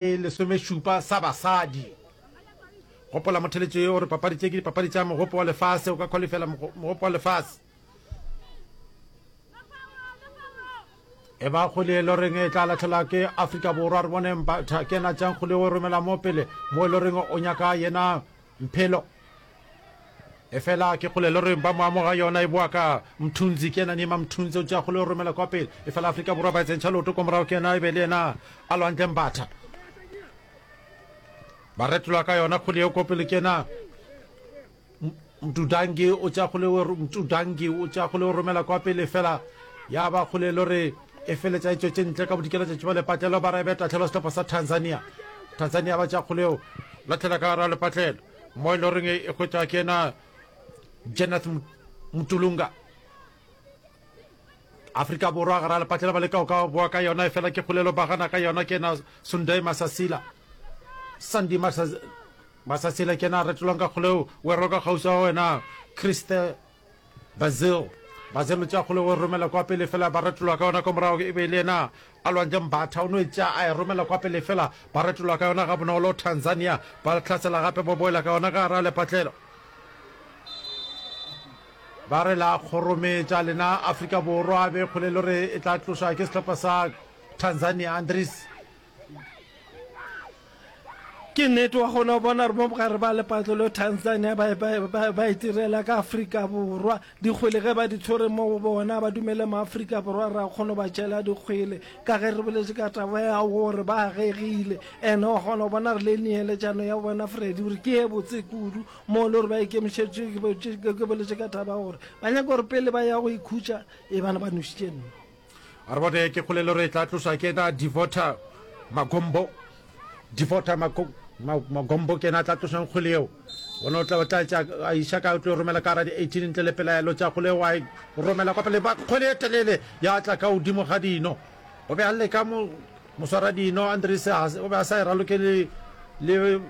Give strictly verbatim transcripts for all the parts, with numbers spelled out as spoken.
Lesomešupa sa basadi. Gopola motheletšo ye gore papadi tše ke dipapadi tša mogopo wa lefase, o ka qualifela mogopo wa lefase. E ba kgole e loreng e tla latlhelwa ke Afrika Borwa, re bone Mbatha ke yena tšang kgole o romela mo pele mo e loreng o nyaka yena Mphelo. Efela ke kgole le reng ba mo amoga yona e boa ka Mthunzi, ke yena Nima Mthunzi o tšea kgole o romela kwa pele. Efela Afrika Borwa ba e tsentšha leoto ko morago ke yena e be le yena a lwantle Mbatha. Ba retolwa ka yona kgole yeo ko pele ke yena Mtudangi o tšea kgole o Mtudangi o tšea kgole o romela kwa pele fela ya ba kgole le re e feletša e tšwetše ntle ka bodikela tšatši ba lepatlelo ba re be tahlelo sehlopha sa Tanzania. Tanzania ba tšea kgole yeo lahlela ka gara lepatlelo. Mo e le goreng e hwetša ke yena Jeneth Mtulunga. Afrika Borwa gara lepatlelo ba leka go ka boa ka yona efela ke kgolelo ba gana ka yona ke yena Sunday Masasila. Sandy Masasila ke yena a retolwang ka kgoleo o e roka kgauswi wa wena Kriste Basil. Basil o tšea kgoleo o e romela kwa pele fela ba retolwa ka yona ko morago e be e le yena A lwantše Mbatha o no e tšea a e romela kwa pele fela ba retolwa ka yona gabonolo. Tanzania ba hlasela gape ba boela ka yona ka gare ga lepatlelo. Ba re la kgorometša lena Afrika Borwa be kgole le gore e tla tlošwa ke sehlopha sa Tanzania. Andries. Ke nnete, wa kgona go bona gore mo bogare ba lepatlelo Tanzania ba, ba, ba, ba itirela ka Afrika Borwa. Dikgwele ge ba di tshwere mo go bona, ba dumele mo Afrika Borwa ra kgona go ba tšela dikgwele. Ka ge re boletše ka taba ya gore ba agegile. Ene wa kgona go bona gore le neeletšano ya bona Freddy gore ke ye botse kudu mo le gore ba ikemišetše, ke, ke boletše ka taba ya gore ba nyaka gore pele ba ya go ikhutša e bana ba nošitše nno. A re bone ke kgolelo re tla tlošwa ke yena Devota Magombo. Devota Magombo ke yena a tla tlošang kgwele yeo. Bona o tla o tla tša a iša ka o tlo romela ka gara di eighteen ntle le pelaelo tša kgwele wa e romela kwa pele ba kgwele e telele ya tla ka godimo ga dino. O be a leka mo moswara dino Andries o be a sa e raloke le le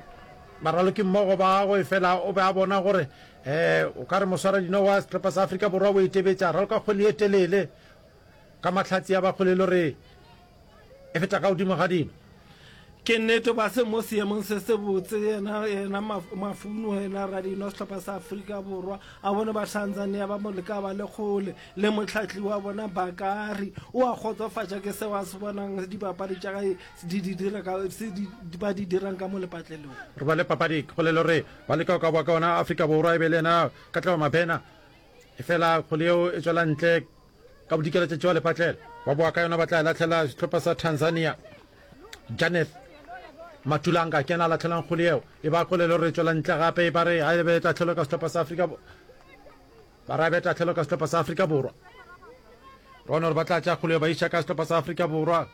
baraloki mmogo ba gagwe fela o be a bona gore eh o ka re moswara dino wa sehlopha sa Afrika Borwa o e tebetša raloka kgwele e telele. Ka mahlatse ya ba kgolelo re e feta ka godimo ga dino. Ke nnete ba se mo seemong se sebotse yena yena Mafuno yena radino sehlopha sa Afrika Borwa a bone ba Tanzania ba mo leka ba le kgole le mohlahli wa bona Bakari o a kgotsofatša ke seo a se bonang dipapadi tša gae di di dira ka se di ba di dirang ka mo lepatlelong. Re ba le papadi kgolelo re ba leka go ka boa ka ona Afrika Borwa e be le yena Katlego Mabena efela kgole yeo e tšwela ntle Ka bodikela tšatši wa lepatlelo ba boa ka yona ba tla e lahlela sehlopha sa Tanzania. Janeth Matulanga ke yena a lahlelang kgole yeo e ba kgole le gore e tšwela ntle gape e ba re a e be tahlelo ka sehlopha sa Afrika ba re a be tahlelo ka sehlopha sa Afrika Borwa. Re bona gore ba tla tša kgole yeo ba iša ka sehlopha sa Afrika Borwa.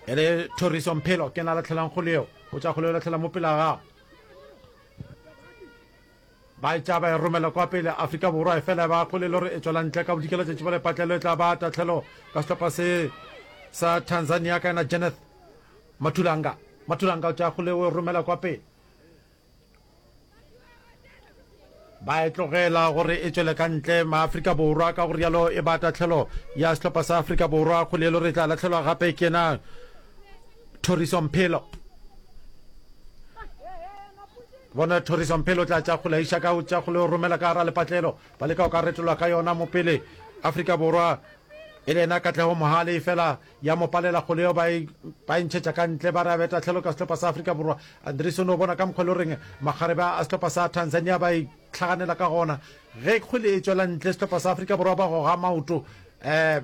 E le Thoriso Mphelo ke yena a lahlelang kgole yeo o tša kgole yeo lahlela mo pele ga gagwe. Ba e tšea ba e romela kwa pele Afrika Borwa, efela ba kgole le gore e tšwela ntle ka bodikela tšatši ba lepatlelo e tla ba tahlelo ka sehlopha se sa Tanzania ka yena Jeneth Matulanga. Matulanga o tšea kgole o e romela kwa pele. Ba e tlogela gore e tšwele ka ntle Maafrika Borwa, ka go rialo e ba tahlelo ya sehlopha sa Afrika Borwa. Kgole e le gore e tla lahlelwa gape ke yena Thoriso Mphelo. Bona Thoriso Mphelo tla tša kgole a iša ka tša kgole o romela ka gara lepatlelo. Ba leka go ka retolwa ka yona mo pele. Afrika Borwa e le yena Katlego Mohale efela ya mo palela kgole yeo ba e ba e ntšhetša ka ntle ba re a be tahlelo ka sehlopha sa Afrika Borwa. Andries o no bona ka mokgwa e le goreng makgarebe a sehlopha sa Tanzania ba e hlaganela ka gona. Ge kgwele e tšwela ntle sehlopha sa Afrika Borwa ba goga maoto um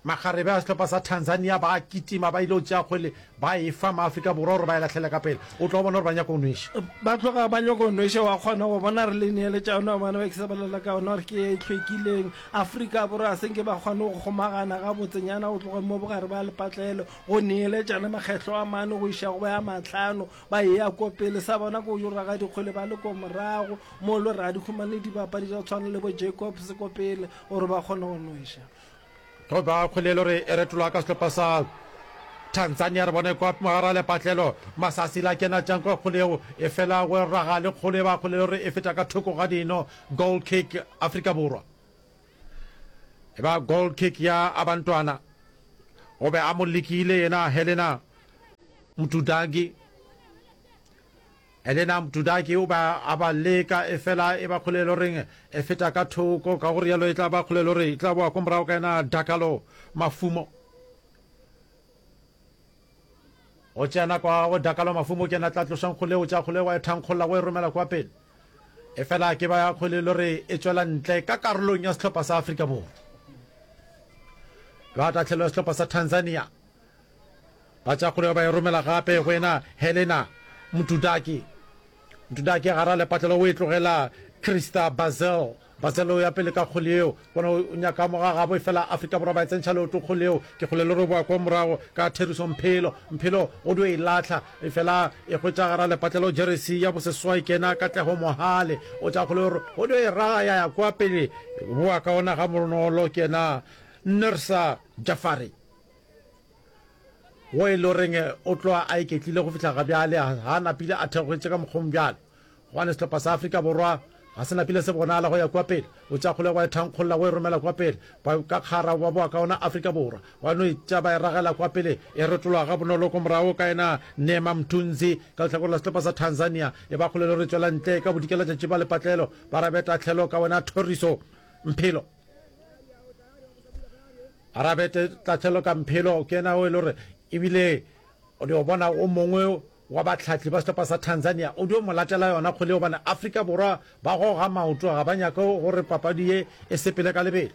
Makgarebe a sehlopha sa Tanzania ba a kitima ba ile go tšea kgwele ba e fa Maafrika Borwa gore ba e lahlele ka pele. O tlo bona gore ba nyaka go nweša. Ba tloga ba nyaka go nweša, wa kgona go bona re le neeletša yona gobane ba ke sa bolela ka yona gore ke ye e hlwekileng. Afrika Borwa ga se nke ba kgone go kgomagana gabotsenyana go tloga mo bogare ba lepatlelo go neeletšana makgetlo a mane go iša go a mahlano ba eya ko pele. Sa bona ke go yo raga dikgwele ba le ko morago mo le gore ga di humane dibapadi tša go tshwana le bo Jacobs ko pele gore ba kgone go nweša. Go ba kgwele e le gore e retolwa ka sehlopha sa Tanzania. Re bone kwa mogare wa lepatlelo Masasi la kena tšang kwa kgwele yeo e fela go raga le kgolo e ba kgwele e le gore e feta ka thoko ga dino. Goal kick Afrika Borwa. E ba goal kick ya Abantwana. O be a mo lekile yena Helena Mtudaki. Helena Mtudaki o ba a ba leka efela e ba kgole le reng e feta ka thoko, ka go rialo e tla ba kgole le re e tla boa ko morago ka yena Dakalo Mafumo. O tšea nako ya gagwe Dakalo Mafumo ke yena tla tlošang kgole, o tšea kgole wa e thankgolla o e romela kwa pele. Efela ke ba ya kgole le re e tšwela ntle ka karolong ya sehlopha sa Afrika Borwa. Ba tahlelo ya sehlopha sa Tanzania. Ba tšea kgole ba e romela gape go yena Helena Mtudaki. Mtudaki gara lepatlelo o e tlogela Krista Bazel. Bazel o ya pele ka kgole yeo. Bona o nyaka mo ga gabo efela Afrika Borwa ba e tsentšha leoto kgole yeo. Ke kgole le roboa kwa morago ka Theriso Mphelo. Mphelo o dio e lahla efela e hwetša gara lepatlelo jeresi ya boseswai ke yena Katlego Mohale. O tšea kgole o o dio e raga ya ya kwa pele. Boa ka ona ga bonolo ke yena Nursa Jafari. Wo e le goreng o tloga a iketlile go fihla gabjale, ga a napile a theogetše ka mokgong bjalo. Gobane sehlopha sa Afrika Borwa ga se napile se bonala go ya kua pele. O tšea kgolego wa e thankgolla o e romela kua pele. Ba ka kgara ba boa ka ona Afrika Borwa. Ba no e tšea ba e ragela kua pele, e retologa gabonolo ko morago ka yena Neema Mthunzi ka lehlakoreng la sehlopha sa Tanzania. E ba kgolelo re tšwela ntle ka bodikelatšatši ba lepatlelo ba rabe tahlelo ka wena Thoriso Mphelo. Arabete Tahlelo ka Mphelo ke yena o e le gore ebile o dio bona o mongwe wa bahlahli ba sehlopha sa Tanzania o dio mo latela yona kgwele gobane Afrika Borwa ba goga maoto, ga ba nyake gore papadi ye e sepele ka lebelo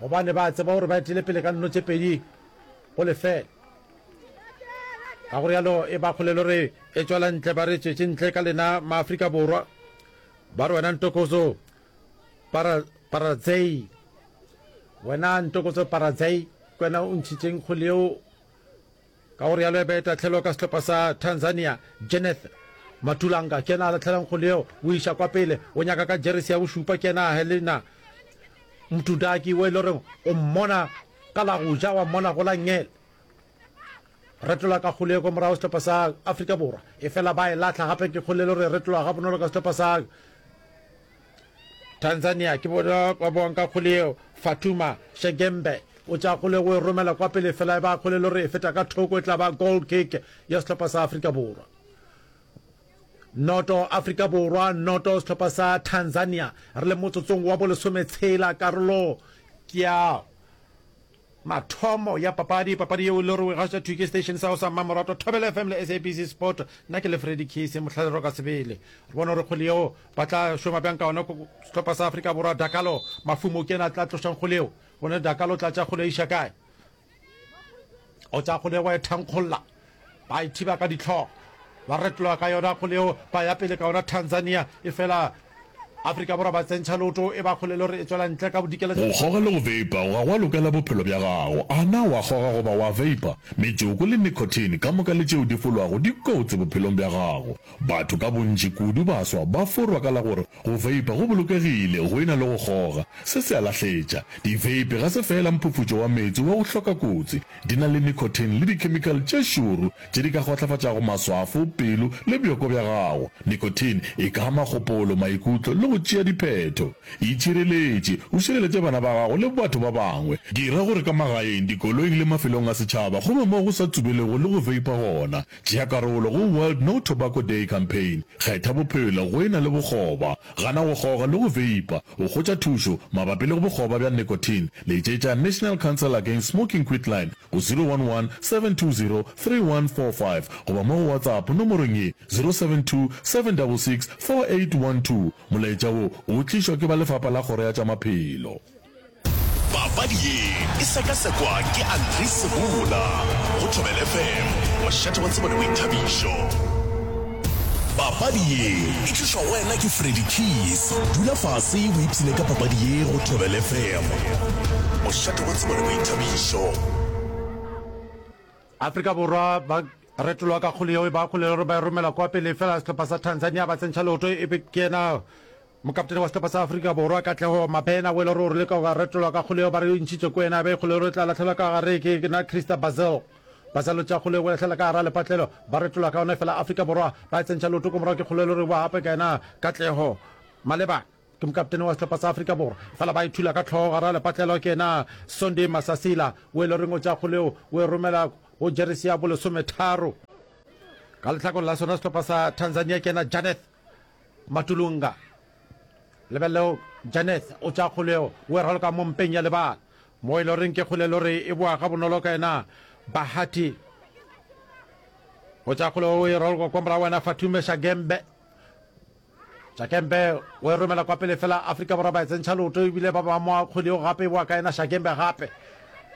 gobane ba tseba gore ba etile pele ka nno tše pedi go lefela. Ka go rialo e ba kgwele le gore e tšwela ntle, ba re tšwetše ntle ka lena Maafrika Borwa, ba re wena Ntokozo Para, Paradzei. Wena Ntokozo Paradzei, ke wena o ntšhitšeng kgwele yeo. Ka go rialo e be tahlelo ka sehlopha sa Tanzania. Jeneth Matulanga ke yena a lahlelang kgwele yeo, o iša kwa pele, o nyaka ka jeresi ya bošupa, ke yena Helena Mtudaki o e le goreng o mmona ka la go ja wa mmona go la nngele. Retola ka kgwele ye kwa morago sehlopha sa Afrika Borwa, efela ba e lahla gape ke kgwele e le gore e retolwa gabonolo ka sehlopha sa Tanzania. Ke bona ba boang ka kgwele yeo. Fatuma Shegembe o tšea kgwele go e romela kwa pele, fela e ba kgwele e le gore e feta ka thoko, e tla ba goal kick ya sehlopha sa Afrika Borwa. Noto Afrika Borwa, noto sehlopha sa Tanzania. Re le motsotsong wa bolesometshela, karolo ke ya mathomo ya papadi, papadi yeo e le gore o e gaša thwi ke station sa go sa mmamoratwa Thobela F M le S A B C Sport. Nna ke le Freddy Case, mohlalero ka sebele. Re bone gore kgwele yeo ba tla šoma bjang ka ona sehlopha sa Afrika Borwa. Dakalo Mafumo ke yena a tla tlošang kgwele yeo. Bone Dakalo o tla tša kgwele iša kae? O tša kgwele wa e thankgolla, ba e thiba ka dihlogo, ba retologa ka yona kgwele yeo, ba ya pele ka yona Tanzania. E fela Afrika Borwa ba tsentšha leoto, e ba kgwele le gore e tswela ntle ka bodikela. Go kgoga le go veipa ga gwa lokela bophelo bja gago. A na wa kgoga goba wa veipa? Metšoko le nicotine ka moka le tšeo di folwago di kotsi bophelong bja gago. Batho ka bontši, kudu baswa, ba forwa ka la gore go veipa go bolokegile go e na le go kgoga. Se se a lahletša. Di-vape ga se feela mphufutšo wa meetse wa go hloka kotsi. Di na le nicotine le dikhemikhale tše šoro tše di ka kgwahlafatšago maswafo, pelo le bjoko bja gago. Nicotine e ka ama kgopolo, maikutlo le go tšea diphetho. Itšhireletše, o šireletše bana ba gago le batho ba bangwe. Dira gore ka magaeng, dikoloing le mafelong a setšhaba go be moo go sa tsubelego le go veipa gona. Tšea karolo go World No Tobacco Day Campaign. Kgetha bophelo go e na le bokgoba. Gana go kgoga le go veipa. O hwetša thušo mabapi le bokgoba bja nicotine, letšetša National Council Against Smoking Quitline go zero one one, seven two zero, three one four five goba mo go WhatsApp nomorong ye zero seven two, seven double six, four eight one two. Molaetša wo o tlišwa ke ba Lefapha la Kgoro ya tša Maphelo. Papadi ye e sekasekwa ke Andries Sebola go Thobela F M, mošate wa tsebo le boithabišo. Papadi ye e tlišwa go wena ke Freddy Keys. Dula fase o ipshine ka papadi ye go Thobela F M, mošate wa tsebo le boithabišo. Afrika Borwa ba retolwa ka kgole yeo e ba kgole gore ba e romela kwa pele, fela sehlopha sa Tanzania ba tsentšha leoto e be ke yena mokaptene wa sehlopha sa Afrika Borwa Katlego Mabena o e le gore o re leka go retolwa ka kgole yeo ba re e ntšhitše ko yena be kgole gore e tla lahlelwa ka gare ke na Krista Basil. Basil o tšea kgole o lahlela ka gara lepatlelo ba retolwa ka yona fela Afrika Borwa ba e tsentšha leoto ko morago ke kgole gore ba gape ka yena Katlego Malebana ke mokaptene wa sehlopha sa Afrika Borwa fela ba e thula ka hlogo gara lepatlelo ke yena Sunday Masasila o e le goreng o tšea kgole o e romela go jeresi ya bolesometharo. Ka lehlakoreng la sona sehlopha sa Tanzania ke yena Janeth Matulunga. Lebelelo Janeth o tšea kgolo yeo o e raloka mo mpeng ya lebala mo e le goreng ke kgole e le gore e boa gabonolo ka yena Bahati. O tšea kgolo o e raloka kwa morago wena Fatume Shagembe. Shagembe o e romela kwa pele fela Afrika Borwa ba e tsentšha leoto ebile ba ba moa kgole yeo gape e boa ka yena Shagembe gape.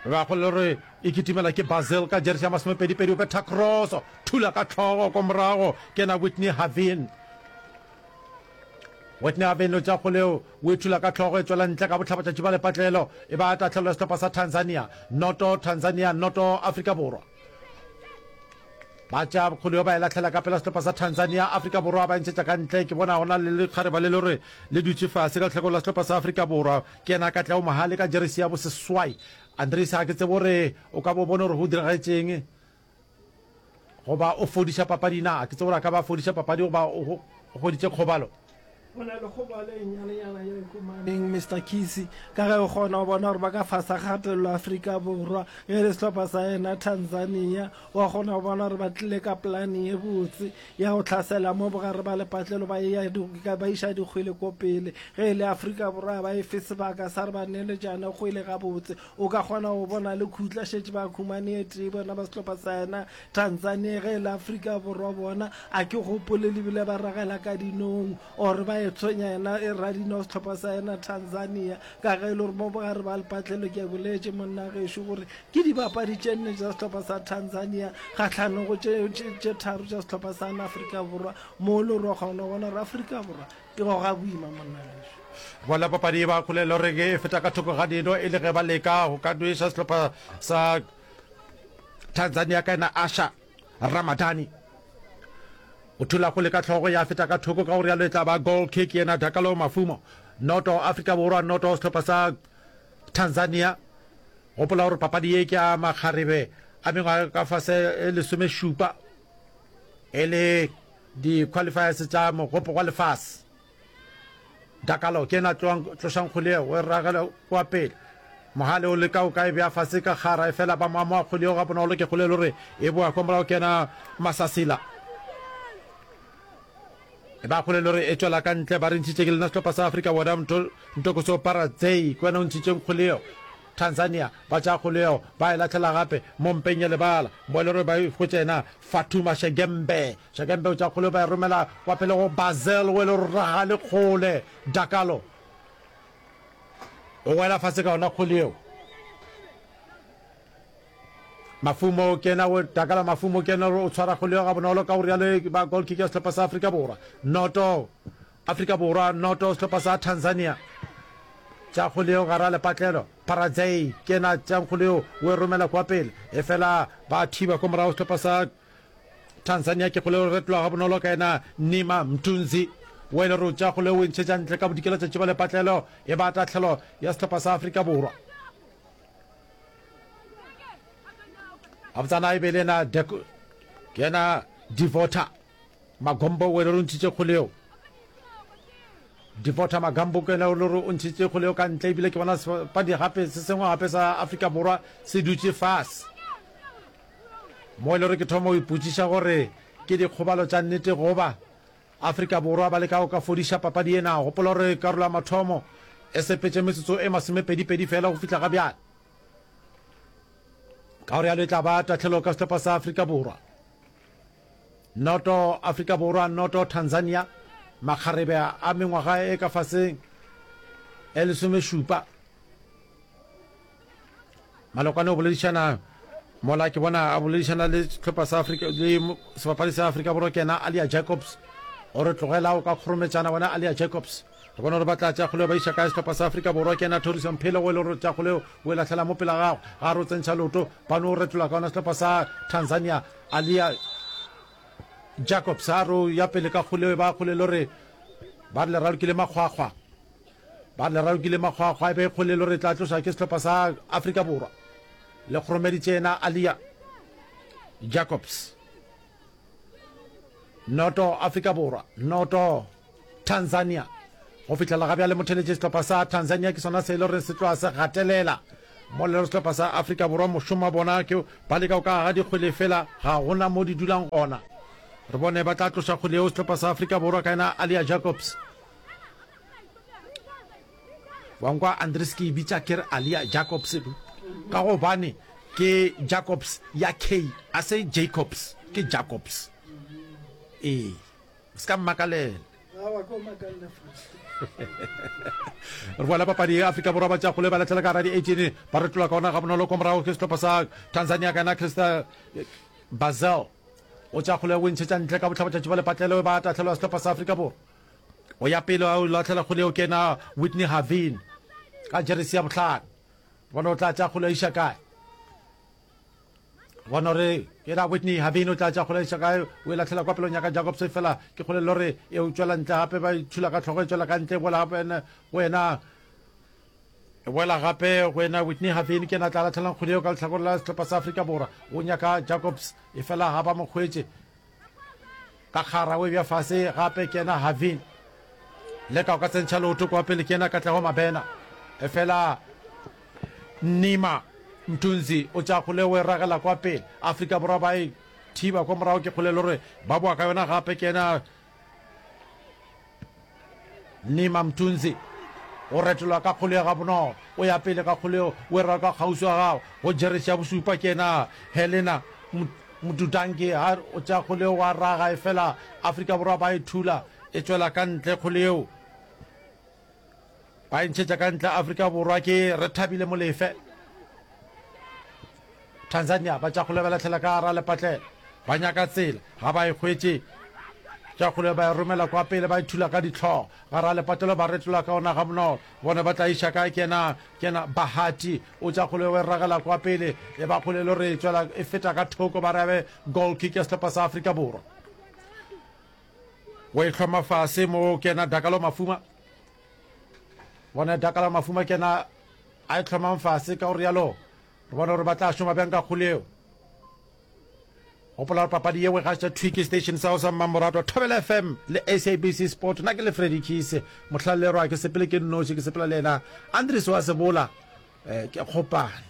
Ba kgole le gore e kitimela ke Basil ka jeresi ya masomepedipedi o betha cross thula ka hlogo kwa morago ke yena Whitney Havin. Whitney Havin o tšea kgole yeo o e thula ka hlogo e tšwela ntle ka bohlabatšatši ba lepatlelo e ba tahlelo ya sehlopha sa Tanzania. Noto Tanzania noto Afrika Borwa. Ba tšea kgole yo ba e lahlela ka pela sehlopha sa Tanzania, Afrika Borwa ba e ntšhetša ka ntle. Ke bona go na le lekgareba le le gore le dutše fase ka lehlakoreng la sehlopha sa Afrika Borwa. Ke yena Katlego Mohale ka jeresi ya boseswai. Andries ga ke tsebe gore o ka bo bone gore go diragetšeng goba o fodiša papadi na. Ke tsebe gore a ka ba a fodiša papadi goba o hweditše kgobalo. Go na le kgobalo e nnyanenyana ye e humaneng Mister Kisi, ka ge o kgona go bona gore ba ka fasa kgatelelo Afrika Borwa. Ge e le sehlopha sa yena Tanzania, wa kgona go bona gore ba tlile ka polane ye botse ya go hlasela mo bogare ba lepatlelo ba eya ba iša dikgwele ko pele. Ge e le Afrika Borwa ga ba e fe sebaka sa gore ba neeletšane kgwele gabotse. O ka kgona go bona le khutla šetše ba humane e tee bona ba sehlopha sa yena Tanzania. Ge e le Afrika Borwa bona a ke gopole le bile ba ragela ka dinong or ba e tshwenya yena e radino sehlopha sa yena Tanzania, ka ge e le gore mo bogare ba lepatlelo ke boletše monna gešo gore ke dibapadi tše nne tša sehlopha sa Tanzania kgahlanong go tše, tše, tše tharo tša sehlopha sa Afrika Borwa, mo le gore wa kgona go bona gore Afrika Borwa e goga boima monna gešo. Bona papadi e ba kgolelo re e feta ka thoko ga dino e le ge ba leka go ka nweša sehlopha sa Tanzania ka yena Asha Ramadani. O thula kgole ka hlogo ya feta ka thoko, ka go realo e tla ba goal kick yena Dakalo Mafumo. Noto Afrika Borwa, noto sehlopha sa Tanzania. Gopola gore papadi ye ke ya makgarebe a mengwaga ka fase e lesomešupa e le di-qualifiers tša mogopo wa lefase. Dakalo ke yena tlošang kgole yeo, o e ragela kua pele. Mohale o leka o ka e bea fase ka kgara, efela ba mo amoga kgole yeo gabonolo. Ke kgole e le gore e boa kwa morago ke yena Masasila. E ba kgole e le gore e tšwela ka ntle, ba re ntšhitše ke lena sehlopha sa Afrika Borwa, Ntokoso Paradzei ke wena o ntšhitšeng kgole yeo. Tanzania ba tšea kgole yeo ba e lahlela gape mo mpeng ya lebala, mo e le gore ba e hwetša yena Fatuma Shegembe. Shegembe o tšea kgole yeo ba e romela kwa pele go Bazel o e le gore ragale kgole. Dakalo o wela fase ka yona kgole yeo. Mafumo ke yena o Dakalo Mafumo ke yena o tshwara kgole yeo gabonolo, ka go rialo e ba goal kick ya sehlopha sa Afrika Borwa. Noto Afrika Borwa noto sehlopha sa Tanzania. Tša kgole yeo gare a lepatlelo. Paradzei ke yena tša kgole yeo o e romela kwa pele, efela ba thiba kwa morago sehlopha sa Tanzania. Ke kgole yeo retolwa gabonolo ka yena Nima Mtunzi o e le gore tša kgole o e ntšhetša ntle ka bodikela tšatši ba lepatlelo, e ba tahlelo ya sehlopha sa Afrika Borwa. Gabotsana e be le yena ke yena Devota Magombo o e le gore o ntšhitše kgole yeo. Devota Magambo ke yena o le gore o ntšhitše kgole yeo ka ntle, ebile ke bona sebapadi gape se sengwe gape sa Afrika Borwa se dutše fase mo e le gore ke thoma go ipotšiša gore ke dikgobalo tša nnete goba Afrika Borwa ba leka go ka fodiša papadi ena. Gopola gore karolo ya mathomo e sepetše metsotso e masomepedipedi fela go fihla ga bjale. Ka go realo e tla ba tahlelo ka sehlopha sa Afrika Borwa. Noto Afrika Borwa, noto Tanzania, makgarebe a mengwaga e ka faseng e lesomešupa. Malokwane o boledišana mola ke bona a boledišana le sehlopha sa Afrika le sebapadi sa Afrika Borwa ke yena Alia Jacobs. O re tlogela o ka kgorometšana wena Alia Jacobs. Re bona gore ba tla tšea kgole ba iša kae sehlopha sa Afrika Borwa ke yena Thoriso Mphele o e le gore tša kgole o e lahlela mo pela gagwe. Ga re o tsentšha leoto ba no retola ka ona sehlopha sa Tanzania. Alia Jacobs a re o ya pele ka kgole ba kgole le gore ba re le ralokile makgwakgwa. Ba re le ralokile makgwakgwa e be kgole le gore tla tloša ke sehlopha sa Afrika Borwa. Le kgoromeditše yena Alia Jacobs. Noto Afrika Borwa, noto Tanzania. Go fihlela ga bjale motheletše sehlopha sa Tanzania ke sona se e le gore se tloga se gatelela mo le sehlopha sa Afrika Borwa. Mošomo wa bona ke ba leka go ka aga dikgwele fela ga gona mo di dulang gona. Re bone ba tla tloša kgwele yeo sehlopha sa Afrika Borwa ka yena Alia Jacobs. Wa nkwa Andries ke e bitša ke re Alia Jacobs ka gobane ke Jacobs ya K a se Jacobs ke Jacobs. Ee, se ka mmakalela. Re boela papadi ya Afrika Borwa ba tšea kgole ba lahlela ka gara di-eighteen ba retola ka ona gabonolo kwa morago ke sehlopha sa Tanzania ka yena Crystal Bazel o tšea kgole o e ntšhetša ntle ka bohlabatšatši ba lepatlelo ba tahlelo ya sehlopha sa Afrika Borwa o ya pele o lahlela kgole eo ke yena Whitney Havin ka jeresi ya bohlano bona o tla tšea kgole a iša kae Bona gore ke ra Whitney Havin o tla tša kgole iša kae, o e lahlela kwa pelong ya ka Jacobs efela ke kgole lore e o tšwela ntle gape ba e thula ka hlogo e tšwela ka ntle e boela gape go yena e boela gape go yena Whitney Havin ke yena a tla lahlelang kgwele eo ka lehlakore la sehlopha sa Afrika Borwa o nyaka Jacobs efela ga ba mo hwetše ka kgara o e bja fase gape ke yena Havin leka o ka tsentšha leoto kwa pele ke yena Katlego Mabena efela Nima Mthunzi o tšea kgole o e ragela kwa pele. Afrika Borwa ba e thiba kwa morago ke kgole lore ba boa ka yona gape ke yena Nima Mthunzi o retolwa ka kgole ya gabonolo o ya pele ka kgole o e raga ka kgauswi wa gagwe go jeresi ya bosupa ke yena Helena Mdudangi ha o tšea kgole wa raga efela Afrika Borwa ba e thula e tšwela ka ntle kgole yeo. Ba e ntšhetša ka ntle Afrika Borwa ke Rethabile Molefe. Tanzania ba tša kgole ba lahlela ka gara lepatlelo. Ba nyaka tsela, ga ba e hwetše. Tša kgole ba e romela kwa pele ba e thula ka dihlogo. Gara lepatlelo ba retola ka ona gabonolo. Bone ba tla iša kae ke yena ke yena Bahati o tša kgole o e ragela kwa pele e ba kgole e le gore e tšwela e feta ka thoko ba re abe goal kick ya sehlopha sa Afrika Borwa. O e hloma fase mo ke yena Dakalo Mafuma. Bona Dakalo Mafuma ke yena a e hlomang fase ka go rialo re bona gore ba tla šoma bjang ka kgole eo. Gopola gore papadi yeo e gaša thwi ke station sa go sa mmamoratwa Thobela F M le S A B C Sport. Nna ke le Freddy Keys mohlallerwa ke sepele ke nnoši ke sepela le yena Andries wa Sebola eh, ke kgopana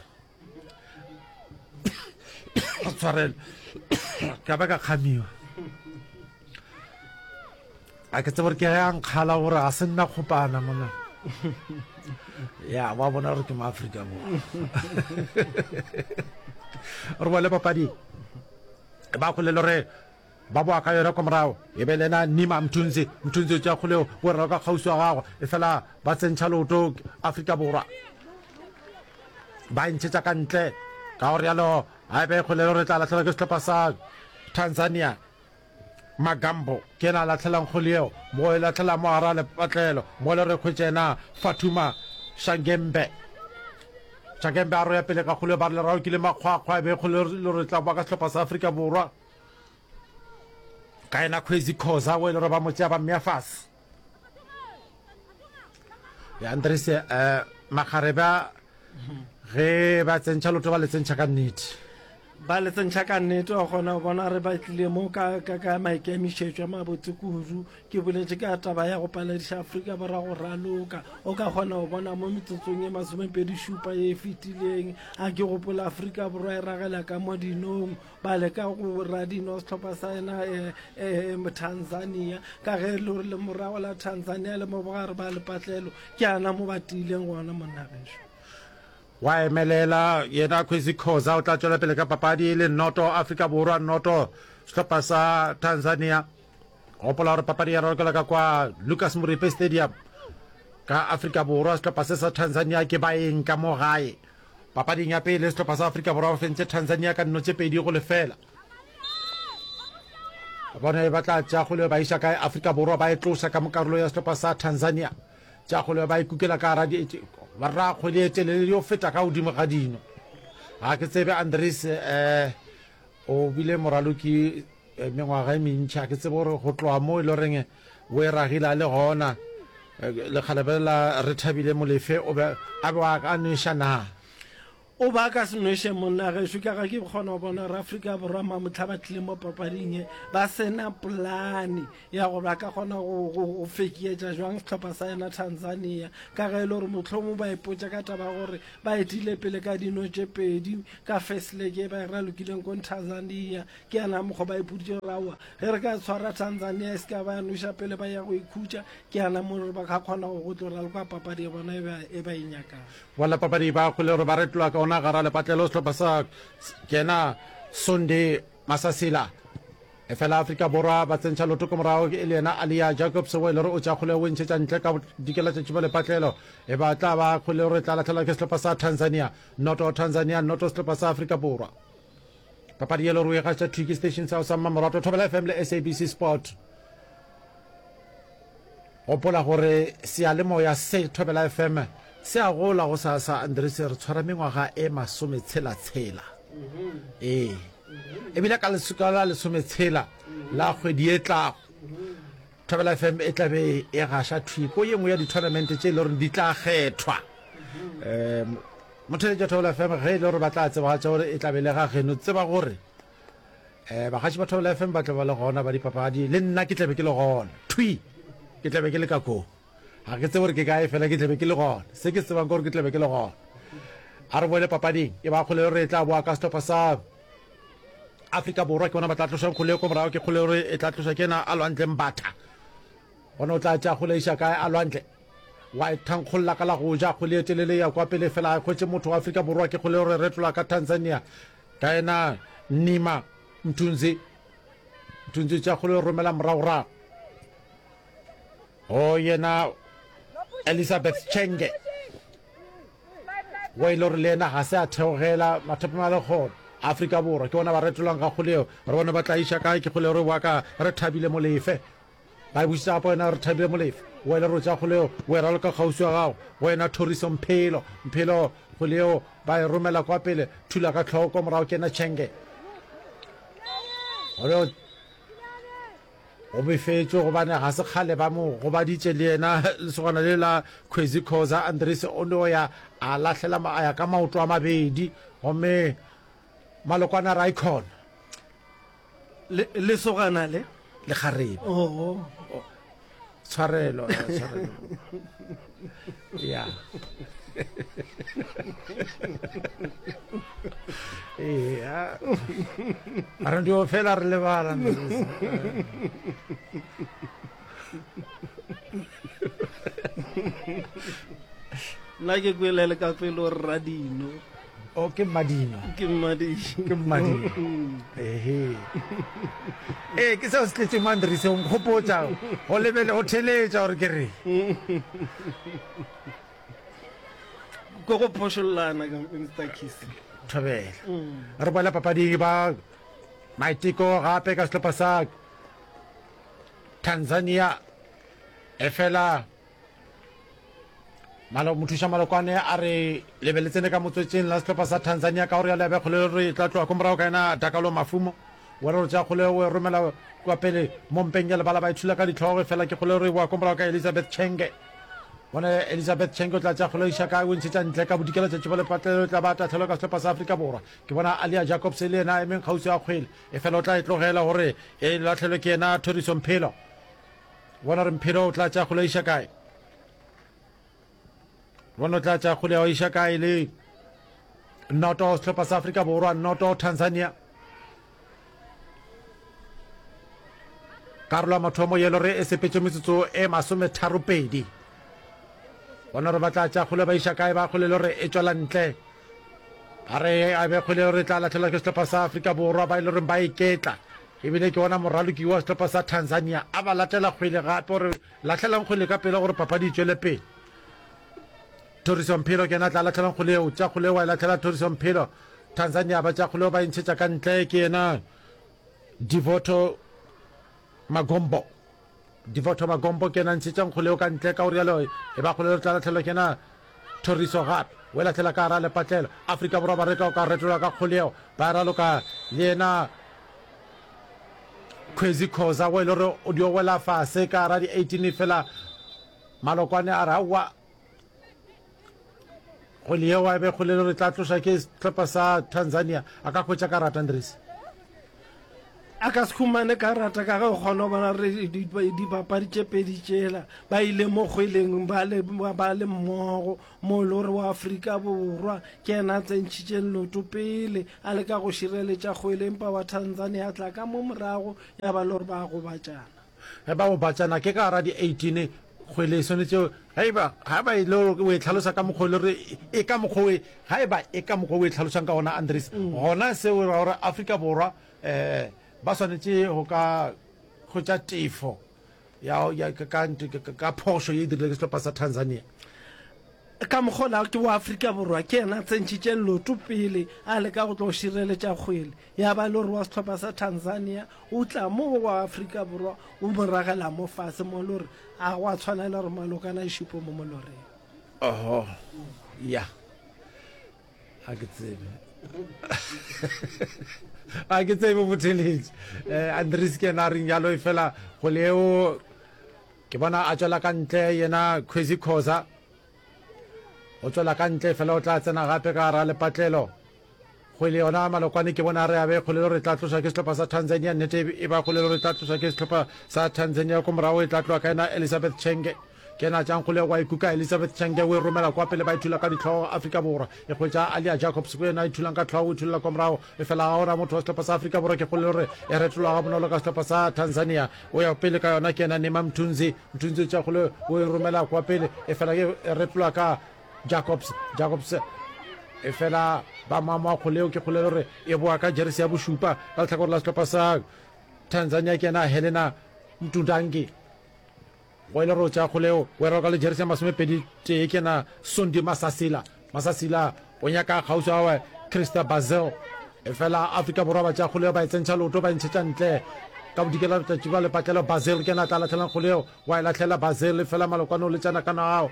tshwarelo ka ba ka kgamiwa a ke tsebe gore ke ge a nkgala gore a se nna kgopana mona ya wa bona gore ke Maaforika Borwa re bole papadi ba kgole le gore ba boa ka yona kwa morago e be le yena Nima Mthunzi Mthunzi o tšea kgole o rera ka kgauswi wa gagwe e fela ba tsentšha leoto Afrika Borwa ba e ntšhetša ka ntle ka go rialo a e be kgole le gore tla lahlelwa ke sehlopha sa Tanzania Magambo ke yena a lahlelang kgole yeo mo e lahlela mo gara lepatlelo mo le re hwetša yena Fatuma Shangembe Shangembe a roya pele ka kgole ba re lerao ke le makgwakgwa e be kgole le re tla boa ka sehlopha sa Afrika Borwa ka yena Khwezi Khoza o e le gore ba mo tšea ba mmea fase ya Andres eh makgarebe a ge ba tsentšha loto ba le tsentšha ka nnete ba le tsentšha ka nnete wa kgona go bona re ba tlile mo ka, ka, ka maikemišetšo a mabotse kudu ke boletše ka taba ya go palediša Afrika Borwa go raloka o ka kgona go bona mo metsotsong e masomepedi šupa ye e fetileng a ke gopola Afrika Borwa e ragela ka mo dinong ba leka go radino sehlopha sa yena eh, eh, Tanzania ka ge le gore le morago la Tanzania le mo bogare ba lepatlelo ke ana mo ba tiileng gona monna gešo. Wa emelela yena Kwesi Khoza o tla tšwela pele ka papadi e le noto Afrika Borwa noto sehlopha sa Tanzania. Gopola gore papadi ya ralokela ka kwa Lucas Moripe Stadium ka Afrika Borwa sehlopha se sa Tanzania ke baeng ka mo gae. Papading ya pele sehlopha sa Afrika Borwa ba fentše Tanzania ka nno tše pedi go lefela. Bone ba tla tšea kgole ba iša kae Afrika Borwa ba e tloša ka mo karolo ya sehlopha sa Tanzania. Tšea kgole ba e kukela ka gara ba ra kgwele e telele yo feta ka godimo ga dino. Ga ke tsebe Andries eh o bile moraloki eh, mengwaga e mentši a ke tsebe gore go tloga mo e le goreng o e ragile a le gona eh, lekgalebe la Rethabile Molefe o be a be a nweša na. O ba ka se nweše monna gešo ka ga ke kgona go bona gore Afrika Borwa mamohla ba tlile mo papading ye ba se na polane ya gore ba ka kgona go, go, go fekietša jwang sehlopha sa yona Tanzania ka ge e le gore mohlomong ba ipotša ka taba ya gore ba etile pele ka dino tše pedi ka first leg ye ba e ralokileng ko Tanzania. Ke yana mokgwa ba ipoditše gore aowa ge re ka tshwara Tanzania e se ka ba ya noša pele ba ya go ikhutša, ke yana mo re ba ka kgona go go tlo raloka papadi ya bona e ba, e ba e nyakang. Balapapadi ba kgole gore ba retolwa ka ona gara lepatlelo sehlopha sa kena Sunday Masasila. Efela Afrika Borwa ba tsentšha loto ko morago e le yena Alia Jacobs o e le gore o tša kgole o e ntšhetša ntle ka bodikela tšatši ba lepatlelo. E ba tla ba kgole gore e tla lahlegelwa ke sehlopha sa Tanzania. Noto Tanzania, noto sehlopha sa Afrika Borwa. Papadi ye le gore o e gaša thwi ke station sa sa mmamoratwa Thobela F M le S A B C Sport. Gopola gore seyalemoya se Thobela F M se a gola go sa sa Andries, re tshwara mengwaga e masometshela-tshela. Ee. Ebile ka lesuka la lesometshela la kgwedi e tlago, Thobela F M e tla be e gaša thwi ko ye nngwe ya di-tournament tše e le gore di tla kgethwa. Um motheletši wa Thobela F M ge e le gore ba tla tsebagatša gore e tla be le ga geno, tseba gore um bagaši ba Thobela F M ba tla ba le gona ba dipapadi, le nna ke tla be ke le gona thwi, ke tla be ke le ka koo. Ga ke tsebe gore ke kae, fela ke tla be ke le gona. Se ke se tsebang ke gore ke tla be ke le gona. A re boele papading. E ba kgole gore e tla boa ka sehlopha sa Afrika Borwa, ke bona ba tla tlošang kgole ko morago. Ke kgole gore e tla tloša ke yena a Lwandle Mbatha. Gona o tla tšea kgole iša kae a Lwandle? Wa e thankgolla ka la go ja, kgole e telele ya kwa pele, fela a e hwetše motho wa Afrika Borwa. Ke kgole gore retola ka Tanzania ka yena Nima Mthunzi. Mthunzi o tšea kgole o romela moragorago go yena Elizabeth Chenge, wa ile gore le yena ga se a theogela mathapama a lekgolo. Afrika Borwa ke bona ba retolang ga kgole eo, re bone ba tla iša kae. Ke kgole gore wa ka re thabile Molefe, ba e bušetša gape wena re thabile Molefe, wa ile re tša kgole eo o e raloka kgauswi wa gago wena Thoriso Mphelo. Mphelo kgole eo ba e romela kwa pele, thula ka tlhoko kwa morago ke yena Chenge. Gore o befetšwe gobane ga se kgale ba mo gobaditše le yena lesogana le la Khwezi Khoza. Andries o no ya a lahlela a ya ka maoto a mabedi gomme malokwane a re icon. Le lesogana le lekgarebe. Oh. Tshwarelo, tshwarelo. Ya. Ee, a re ndio fela re lebala. Nna ke kwele le ka pele o radino. O ke mmadino. Ke mmadino. Ke mmadino. Ehe. Ee, ke seo se tletšeng mo Andries, o nkgopotša go lebele go theletša gore ke re. Ko go phošollana ka Mister Kiss. Thobela. Re boela papading ba maiteko gape ka sehlopha sa Tanzania. Efela Malo mothuša Malokwane a re lebe le tsene ka motswetšeng la sehlopha sa Tanzania ka gore ya lebe kgole re tla tloga ko morago ka yena Dakalo Mafumo. Wa re tša kgole o e romela kwa pele mo mpeng ya lebala ba ithula ka ditlhogo fela ke kgole re boa ko morago ka Elizabeth Chenge. Bone Elizabeth Chenge o tla tša kgole iša kae o ntšhetša ntle ka bodikela tšatši ba lepatlelo tla ba tahlelo ka sehlopha sa Afrika Borwa. Ke bona Alia Jacobs le yena a emeng kgauswi a kgwele e fela o tla e tlogela gore e lahlelwe ke yena Thoriso Mphelo. Bona re Mphelo o tla tša kgole iša kae. Bona o tla tša kgole ya iša kae le noto sehlopha sa Afrika Borwa, noto Tanzania. Karolo ya mathomo yelo re e sepetše metsotso e masometharopedi. Bona re ba tla tša kgole ba iša kae ba kgole le re e tšwela ntle. Ba re a be kgole re tla lahlelwa ke sehlopha sa Afrika Borwa ba e le reng ba iketla. Ebile ke ona moraloki wa sehlopha sa Tanzania a ba latela kgwele gape gore lahlelang kgwele ka pele gore papadi e tšwele pele. Thoriso Mphelo ke yena tla lahlelang kgwele eo, tša kgwele wa e lahlela Thoriso Mphelo. Tanzania ba tša kgwele ba e ntšhetša ka ntle ke yena Devoto Magombo. Devoto Magombo ke yena ntšhetšang kgwele eo ka ntle ka gore yalo e ba kgwele re tla lahlelwa ke yena Thoriso gape. O e lahlela ka gara lepatlelo. Afrika Borwa ba reka o ka retolwa ka kgwele eo ba raloka le yena Khwezi Khoza o e le gore o dio wela fase ka gara di eighteen fela Malokwane a re aowa. Kgwele yeo a be kgwele le gore e tla tloša ke sehlopha sa Tanzania. A ka hwetša karata Andries? A ka se humane karata ka ge o kgona go bona gore dibapadi tše pedi tšela ba ile mo kgweleng ba le, ba le mmogo, mo e le gore wa Afrika Borwa ke yena a tsentšhitšeng leoto pele a leka go šireletša kgwele, empa wa Tanzania a tla ka mo morago ya ba le gore ba gobatšana. Ge ba gobatšana ke ka gara di eighteen kgwele e swanetše ge e ba, ga e ba e le gore o e hlalosa ka mokgwa o e le gore e ka mokgwa o e, ga e ba e ka mokgwa o e hlalošang ka gona Andries, gona seo e ra gore Afrika Borwa um ba swanetše go ka hwetša tefo ya, ya, ka, ka, ka phošo ye e dirile ke sehlopha sa Tanzania. Ka mokgwa ola ke wa Afrika Borwa ke yena a tsentšhitšeng leoto pele a leka go tlo šireletša kgwele, ya ba e le gore wa sehlopha sa Tanzania o tla mo go wa Afrika Borwa o mo ragela mo fase mo e le gore a gwa tshwanela gore malokana a šupe mo moloreng. Oho, ya. Ga ke tsebe. Ga ke tsebe botheletši. Eh, Andries ke yena a reng jalo, efela kgwele eo ke bona a tšwela ka ntle yena Khwezi Khoza. O tšwela ka ntle fela o tla tsena gape ka gara lepatlelo. Kgwele yona Malokwane ke bona a re a be kgwele le gore e tla tlošwa ke sehlopha sa Tanzania. Nnete e ba kgwele le gore e tla tlošwa ke sehlopha sa Tanzania. Ko morago e tla tloga ka yena Elizabeth Chenge. Ke yena a tšang kgwele wa e kuka Elizabeth Chenge o e romela kwa pele ba e thula ka dihlogo Afrika Borwa. E hwetša Alia Jacobs ke yena a e thulang ka hlogo o e thulela kwa morago. Efela ga gona motho wa sehlopha sa Afrika Borwa ke kgwele le gore e retolwa gabonolo ka sehlopha sa Tanzania. O ya pele ka yona ke yena Neema Mthunzi. Mthunzi o tšea kgwele o e romela kwa pele efela e retolwa ka Jacobs. Jacobs efela ba moamoa kgwele eo ke kgwele le gore e boa ka jeresi ya bošupa ka lehlakore la sehlopha sa Tanzania ke yena Helena Mtundangi. Go ile gore o tšea kgwele eo o e roka le jeresi ya masomepedi tee ke yena Sondi Masasila. Masasila o nyaka kgauswi wa gagwe Christa Basil. Efela Afrika Borwa ba tšea kgwele eo ba e tsentšha leoto ba e ntšhetša ntle ka bodikela letšatši bja lepatlelo. Basil ke yena a tla lahlelang kgwele eo, wa e lahlela Basil efela Malokwane o letša nakana gao.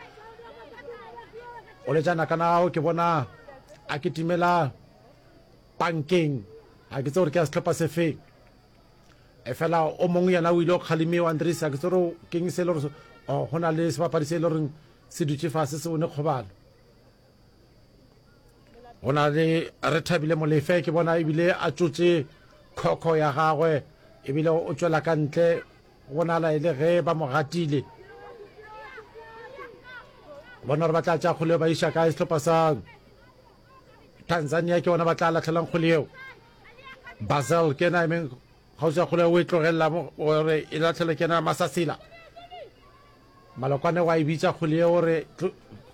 O letša nakana gao ke bona a kitimela pankeng. Ga ke tsebe gore ke ya sehlopha se feng. Efela o mongwe yena o ile o kgalemiwa, Andries, ga ke tsebe gore keng se e le gore go na le sebapadi se e le goreng se dutše fase se bone kgobalo. Go na le Rethabile Molefe, ke bona ebile a tšotše khokho ya gagwe ebile o tšwela ka ntle, go bonala e le ge ba mo gatile. Bona gore ba tla tša kgole ba iša kae sehlopha sa Tanzania, ke bona ba tla lahlelang kgole yeo. Basel ke yena emeng kgauswi ya kgole o e tlogelela gore e lahlelwe ke yena Masasila. Malokwane wa e bitša kgwele yeo gore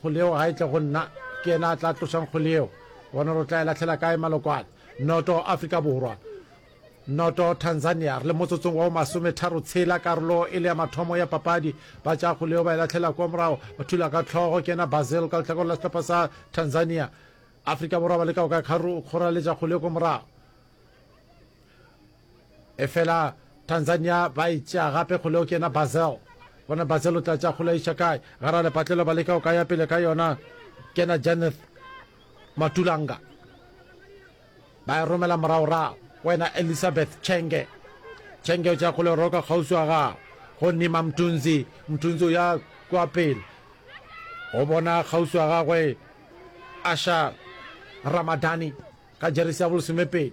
kgwele yeo ga e tle go nna, ke yena a tla tlošang kgwele yeo. Bona gore o tla e lahlela kae Malokwane. Noto Afrika Borwa. Noto Tanzania. Re le motsotsong wa masometharo tshela karolo e le ya mathomo ya papadi. Ba tšea kgwele yeo ba e lahlela kwa morago, ba thula ka hlogo ke yena Basil ka lehlakore la sehlopha sa Tanzania. Afrika Borwa ba leka go ka kgoraletša kgwele ko morago. Efela Tanzania ba e tšea gape kgole o ke yena Basel. Bona Basel o tla tšea kgole a iša kae? Gara lepatlelo ba leka go ka ya pele ka yona. Ke yena Janeth Matulanga. Ba e romela moragorago. Wena Elizabeth Chenge. Chenge o tšea kgole roka kgauswi wa gago. Go Nima Mthunzi. Mthunzi o ya kwa pele. Go bona kgauswi wa gagwe Asha Ramadani ka jeresi ya bolesomepedi.